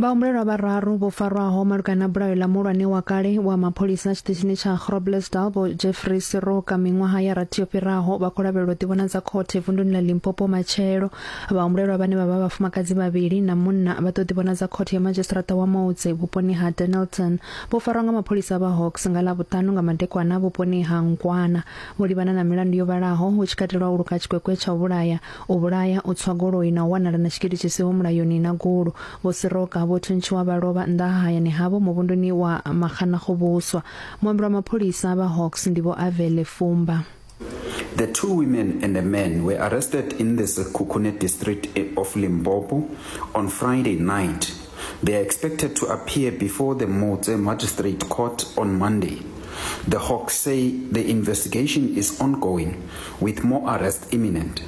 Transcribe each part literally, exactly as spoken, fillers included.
Vhahumbulelwa vhararu vho farwaho malugana na bulayo ḽa muhulwane wa kale wa mapholisa tshiṱitshini tsha Groblersdal Vho Jeffrey Siroka miṅwaha ya rathi yo fhiraho vha khou lavhelelwa u ḓivhonadza khothe vunduni ḽa Limpopo matshelo. Vhahumbulelwa vhane vha vha vhafumakadzi vhavhili na munna vha ḓo ḓivhonadza khothe ya madzhisiṱiraṱa wa Moutse vhuponi ha Dennilton. Vho farwa nga mapholisa vha Hawks nga Ḽavhuṱanu nga madekwana vhuponi ha Nkwana. Vho livhana na milandu yo vhalaho hu tshi katelwa u luka tshikwekwe tsha u vhulaya, u vhulaya, u tswa goloi na u wanala na tshigidi tshi siho mulayoni na gulu. Vho Siroka vho thuntshiwa vha lovha nnḓa ha hayani havho muvhunduni wa Maxanagobuswa. Muambeli wa mapholisa vha Hawks ndi Vho Avele Fumba. The two women and a man were arrested in the Sekhukhune district of Limpopo on Friday night. They are expected to appear before the Moutse Magistrate Court on Monday. The Hawks say the investigation is ongoing, with more arrests imminent.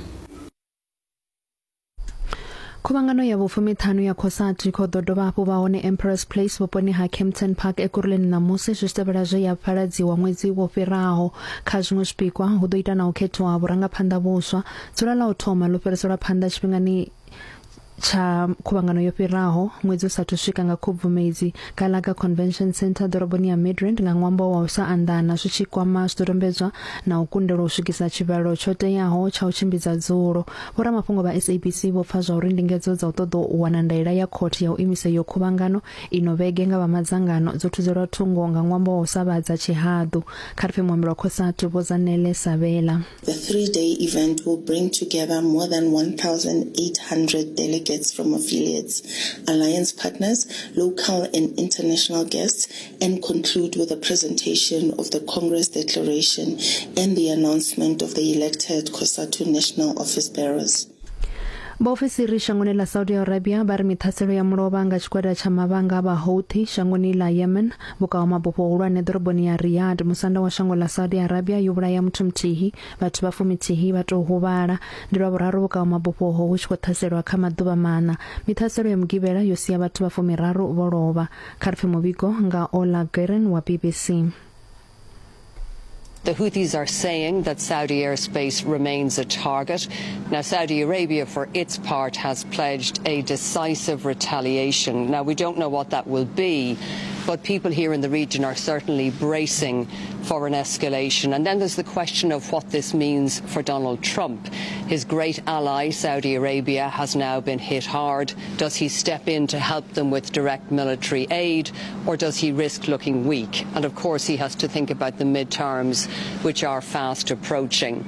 Khuvhangano ya vhufumiṱhanu ya COSATU i khou ḓo dovha hafhu vha hone Emperors Place vhuponi ha Kempton Park Ekurhuleni ṋamusi zwi tshi tevhela zwe ya pfaladziwa ṅwedzi wo fhiraho. Kha zwiṅwe zwipikwa hu ḓo ita na u khethiwa ha vhurangaphanḓa vhuswa. Dzula ḽa u thoma ḽo fhiriselwa phanḓa tshifhingani tsha khuvhangano yo fhiraho ṅwedzi u sathu swika nga Khubvumedzi Gallagher Convention Centre ḓoroboni ya Midrand nga ṅwambo wa u sa anḓana zwi tshi kwama zwidodombedzwa na u kundelwa u swikisa tshivhalo tsho teaho tsha u tshimbidza dzulo. Vhoramafhungo vha S A B C vho pfa zwa uri ndingedzo dza u ṱoḓa u wana ndaela ya khothe ya u imisa iyo khuvhangano ino vhege nga vha madzangano dzo thudzelwa thungo nga ṅwambo wa u sa vhadza tshihaḓu. Kha ri pfe muambeli wa COSATU Vho Zanele Sabela. The three-day event will bring together more than one thousand eight hundred delegates from affiliates, alliance partners, local and international guests, and conclude with a presentation of the Congress Declaration and the announcement of the elected COSATU National Office Bearers. Vhaofisiri shangoni ḽa Saudi Arabia vha ri miṱhaselo ya mulovha nga tshigwada tsha mavhanga vha Houthi shangoni ḽa Yemen vhukaho mabufho hulwane ḓoroboni ya Riyadh musanda wa shango ḽa Saudi Arabia yo vhulaya muthu muthihi vhathu vha fumithihi vha tou huvhala. Ndi lwa vhuraru vhukaho mabufho ho hu tshi khou ṱhaselwa kha maḓuvha maṋa. Miṱhaselo ya mugivhela yo sia vhathu vha fumiraru vho lovha. Kha ri pfe muvhigo nga Ola Guerin wa B B C. The Houthis are saying that Saudi airspace remains a target. Now, Saudi Arabia, for its part, has pledged a decisive retaliation. Now, we don't know what that will be, but people here in the region are certainly bracing for an escalation. And then there's the question of what this means for Donald Trump. His great ally, Saudi Arabia, has now been hit hard. Does he step in to help them with direct military aid, or does he risk looking weak? And of course, he has to think about the midterms, which are fast approaching.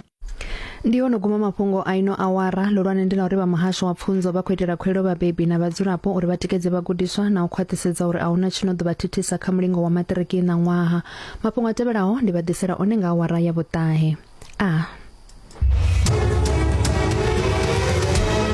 Ndi ono guma mafhungo a ino awara. Lolwane ndi la uri vha muhasho wa pfunzo vha khou itela khuwelelo vhabebi na vhadzulapo uri vha tikedze vhagudiswa na u khwaṱhisedza uri a huna tshino ḓo vha thithisa kha mulingo wa maṱiriki na ṅwaha. Mafhungo a tevhelaho ndi vha ḓisela one nga awara ya vhuṱahe. A